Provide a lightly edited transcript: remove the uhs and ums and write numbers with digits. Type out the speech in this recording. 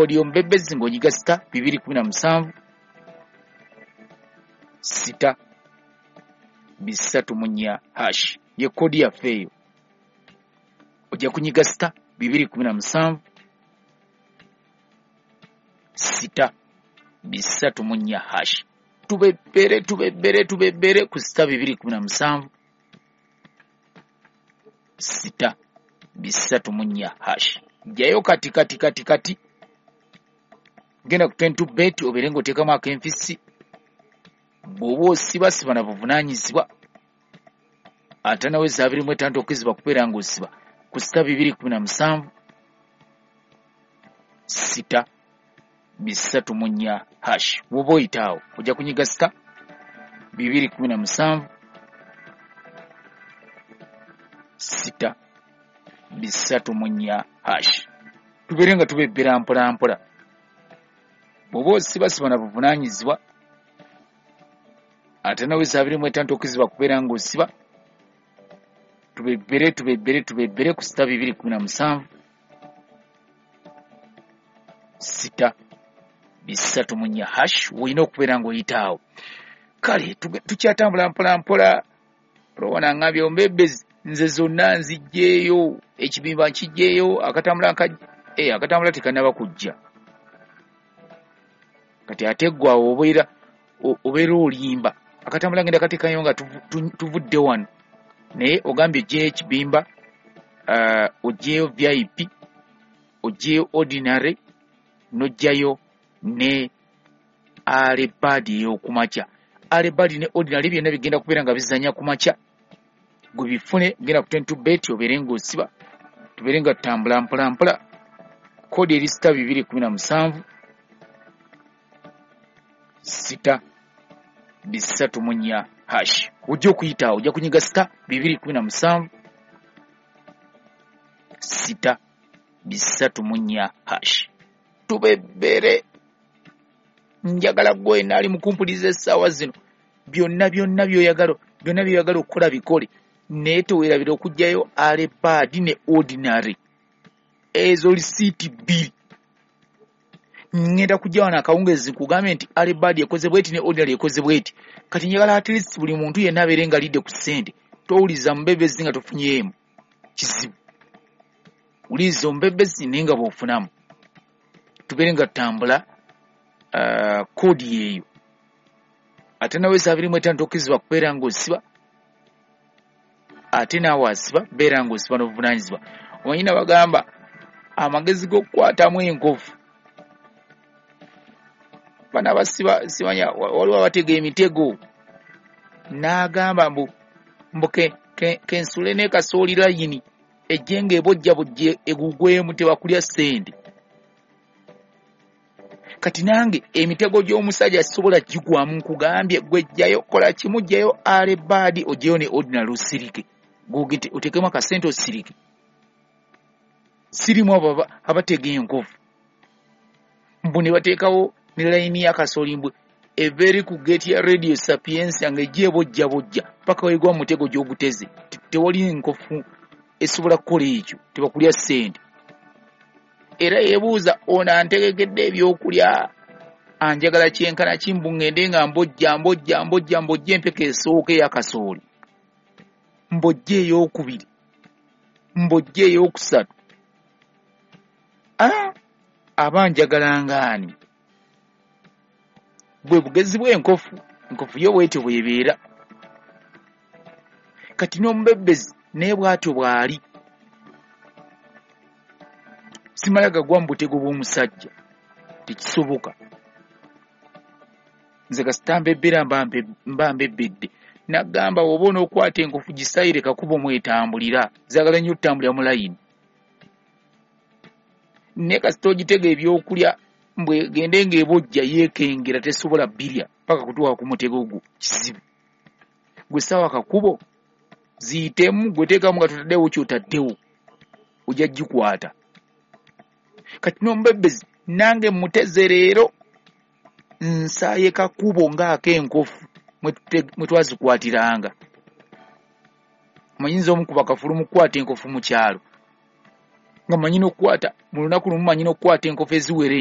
Kodi y'omubebezi ng'onyiga *217 *334 hash ye kodi yaffe eyo. Ojja kunyiga *217 *334 hash. Tubebbere tubebbere tubebbere ku *217 *334 hash. Jjayo kati kati kati kati, genda ku 22 bet obeere ng'oteekamu akenfisi. Bw'oba osiba siba na buvunaanyizibwa, ate naweza 25 okizibwa kubeera ng'osiba ku *217 *334 hash. Bw'oba oyita awo ojja kunyiga *217 *334 hash. Tubeere nga tubebbera mpola mpola. Bw'oba osiba siba na buvunaanyizibwa, ate naweza 25 okizibwa kubeera ng'osiba. Tubebbere tubebbere tubebbere ku *217 *334 hash. Olina okubeera ng'oyita awo. Kale tukyatambula mpola mpola. Olwona ngambye ombebezi nze zonna nzijjeeyo, ekibimba nkijjeeyo, akatambula akatambula tekannaba kujja. Kati ate ggwe awo obeera olimba. Akatambula ngenda kateekayo nga tuvudde wano, naye ogambye ojjeeyo ekibimba, ojjeeyo VIP, ojjeeyo ordinary, n'ojjayo ne alebadi ey'okumakya. Alebadi ne ordinary byonna bigenda kubeera nga bizannya ku makya. Gwe bifune, genda ku 22 bet obeere ng'osiba, tubeere nga tutambula mpola mpola. Kodi eri *217 *334 hash. Ojja okuyita awo, ojja kunyiga *217 *334 hash. Tubebbere. Njagala gwe naali mukumpuliza essaawa zino, byonna byonna by'oyagala, byonna by'oyagala okukola bikole, naye teweerabira okuggyayo alebaadi ne ordinary. Ezo lisiiti bbiri. Ngenda kujja wano akawungeezi nkugambye nti alebaadi ekoze bweti ne ordinary ekoze bweti. Kati njagala at least buli muntu yenna abeere nga alidde ku ssente. Towuliza mubebezi nga tofunyeemu kizibu, wuliriza omubebezi naye nga bw'ofunamu. Tubeere nga tutambula. Kodi yeeyo. Ate naweza 25 tokkirizibwa kubeera ng'osiba, ate naawe asiba beera ng'osiba n'obuvunaanyizibwa. Omanyi nabagamba amagezi g'okukwatamu enkovu. Bano abasiba simanya waliwo abatega emitego, n'agamba mbu kensule ne kasooli layini ejje ng'ebojja bojja egugwemu tebakulya ssente. Kati nange emitego gy'omusajja sisobola gigwamu, nkugambye gwe jjayo kola kimu, jjayo alebaadi ojjeyo ne ordinary osirike, oteekemu akasente osirike. Sirimu abo abatega enkovu mbu ne bateekawo ne layini y'akasooli mbu eva eri ku geeti ya Radio Sapientia ng'ejja ebojja bojja paka wegwa mu mutego gy'oguteze. Tewali nkofu esobola kukola ekyo, tebakulya ssente. Era yeebuuza ono antegekedde ebyokulya anjagala kyenkana ki, mbu ŋŋende nga mbojja mbojja mbojja mbojja empeke esooka ey'akasooli, mbojja ey'okubiri, mbojja ey'okusatu. Aba njagala ngaani? Bwe bugezi bw'enkofu, enkofu yo bwetyo bw'ebeera. Kati n'omubebezi naye bw'atyo bw'ali. Simala gagwa mu butego bw'omusajja, tekisoboka. Nze kasita mbebbera mba mbebbedde. Nagamba bw'oba onookwata enkofu gisayire kakubo mwetambulira, zaagala nnyo okutambulira mu layini. Naye kasita ogitega ebyokulya mbwe egende ng'ebojja yeekengera tesobola bbirya paka kutuuka ku mutego gwo, kizibu. Gwe ssaawa kakubo ziyitemu, gwe teekamu nga totaddewo ky'otaddewo, ojja gikwata. Kati n'omubebezi nange muteze leero nsaaye kakubo ng'ak'enkofu mwe twazikwatiranga. Manyinza omukuba kafulu mu kukwata enkofu mu kyalo, nga mmanyi n'okukwata mu lunaku lumu, mmanyi n'okukwata enkofu eziwera.